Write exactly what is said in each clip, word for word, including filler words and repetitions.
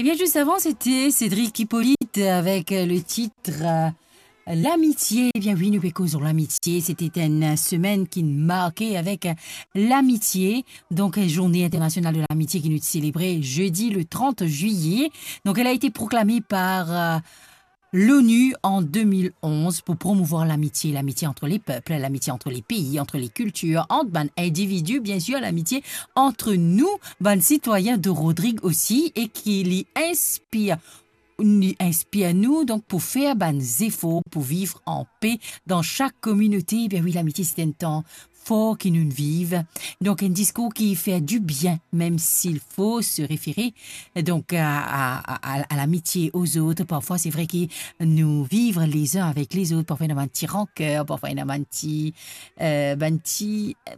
Eh bien, juste avant, c'était Cédric Hippolyte avec, euh, le titre, euh, L'amitié. Eh bien oui, nou pe koz lor lamitié. C'était une semaine qui marquait avec, euh, l'amitié. Donc, euh, Journée internationale de l'amitié qui nous célébrait jeudi le trente juillet. Donc, elle a été proclamée par, euh, l'ONU en deux mille onze pour promouvoir l'amitié, l'amitié entre les peuples, l'amitié entre les pays, entre les cultures, entre bann individus, bien sûr, l'amitié entre nous, bann citoyens de Rodrigues aussi, et qui li inspir, li inspir nou, donk, pou fer bann zefor pou viv an pe dan sak kominote. Ben oui, lamitié, c'est un temps fort ki nou viv. Donk, un discours qui fait du bien, même s'il faut se référer, donk, à, à, à, à l'amitié aux autres. Parfois, c'est vrai que nous vivre les uns avec les autres, parfois, il y a un petit rancœur, parfois, il y a un petit, euh, un petit, euh,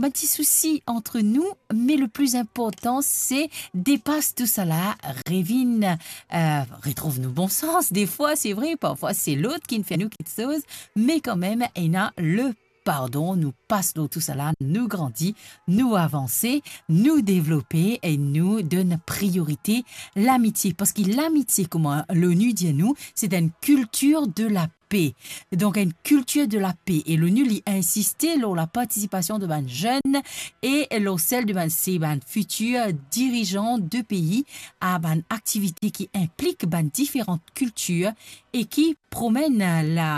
un petit souci entre nous, mais le plus important, c'est dépasser tout ça là, revin, euh, retrouve nos bons sens. Des fois, c'est vrai, parfois, c'est l'autre qui fait nous quelque chose, mais quand même, il y a le pardon, nou pas lor tou sala, nou grandi, nou avanse, nou devlope e nou donn priorite lamitie. Parski lamitie, kouma l'ONU dir nou, c'est une culture de la paix. Donk, une culture de la paix. E l'ONU, li insiste lor la participasion de bann zenn e lor sel de bann, se bann fitir dirizan de pei a bann aktivite ki inplik bann diferan kiltir e ki promenn la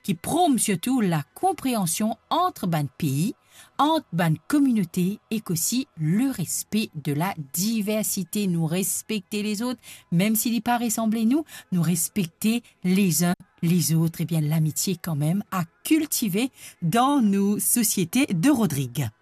ki prom sirtou la konpreansion ant bann pei, ant bann kominote ek osi le respe de la diversite. Nou respekte lezot, mem si li pa resanble nou, nou respekte les uns les autres. Ebien, lamitie kanmem a kiltive dan nou sosiete de Rodrigues.